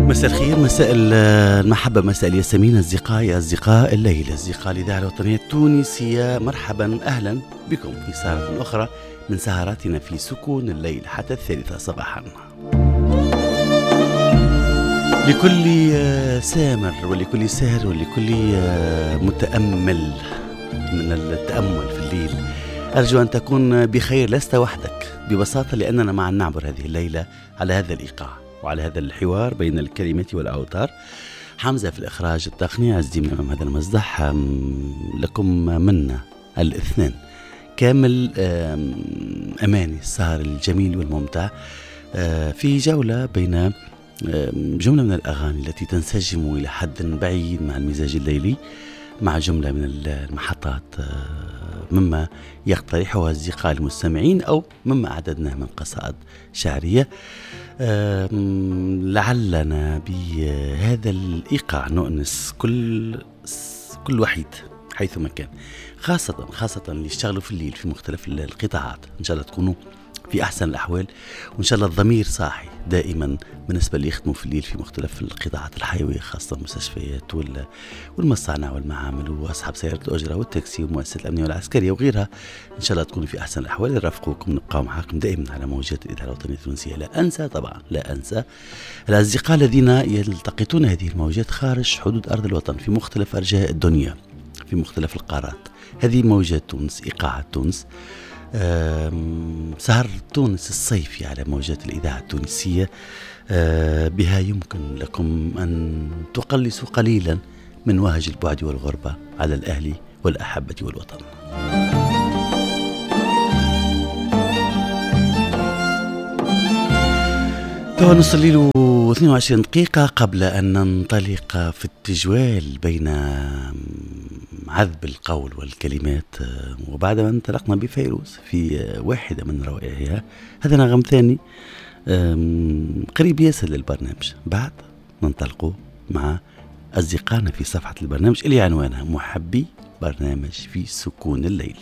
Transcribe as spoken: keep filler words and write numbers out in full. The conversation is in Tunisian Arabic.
مساء الخير، مساء المحبة، مساء الياسمين أصدقائي أصدقاء الليل، أصدقاء الإذاعة الوطنية التونسية. مرحبا، أهلا بكم في سهرة أخرى من سهراتنا في سكون الليل حتى الثالثة صباحا. لكل سامر ولكل ساهر ولكل متأمل من التأمل في الليل، أرجو أن تكون بخير، لست وحدك ببساطة، لأننا معا نعبر هذه الليلة على هذا الإيقاع وعلى هذا الحوار بين الكلمات والأوتار. حمزة في الإخراج التقني، عز الدين أمام هذا المصدح. لكم منا الاثنين كامل أماني السهر الجميل والممتع في جولة بين جملة من الأغاني التي تنسجم إلى حد بعيد مع المزاج الليلي، مع جملة من المحطات مما يقترحها أصدقاء المستمعين أو مما أعددناه من قصائد شعرية. لعلنا بهذا الإيقاع نؤنس كل كل وحيد حيثما كان، خاصة خاصة اللي يشتغلوا في الليل في مختلف القطاعات. إن شاء الله تكونوا في أحسن الأحوال، وإن شاء الله الضمير صاحي دائما بالنسبة اللي يخدموا في الليل في مختلف القطاعات الحيوية، خاصة المستشفيات والمصانع والمعامل وأصحاب سيارة الأجرة والتاكسي ومؤسسات الأمنية والعسكرية وغيرها. إن شاء الله تكونوا في أحسن الأحوال. نرافقوكم، نبقاو معاكم دائما على موجات الإذاعة الوطنية التونسية. لا أنسى طبعا، لا أنسى الأصدقاء الذين يلتقطون هذه الموجات خارج حدود أرض الوطن في مختلف أرجاء الدنيا، في مختلف القارات. هذه موجات تونس، إيقاعات تونس، سهر تونس الصيفي على موجات الإذاعة التونسية. بها يمكن لكم أن تقلصوا قليلا من وهج البعد والغربة على الأهل والأحبة والوطن. توا نص الليل واثنين وعشرين دقيقة. قبل أن ننطلق في التجوال بين عذب القول والكلمات، وبعد ما انطلقنا بفيروز في واحدة من روائعها، هذا نغم ثاني قريب ياسر للبرنامج. بعد ننطلق مع أصدقائنا في صفحة البرنامج اللي عنوانها محبي برنامج في سكون الليل.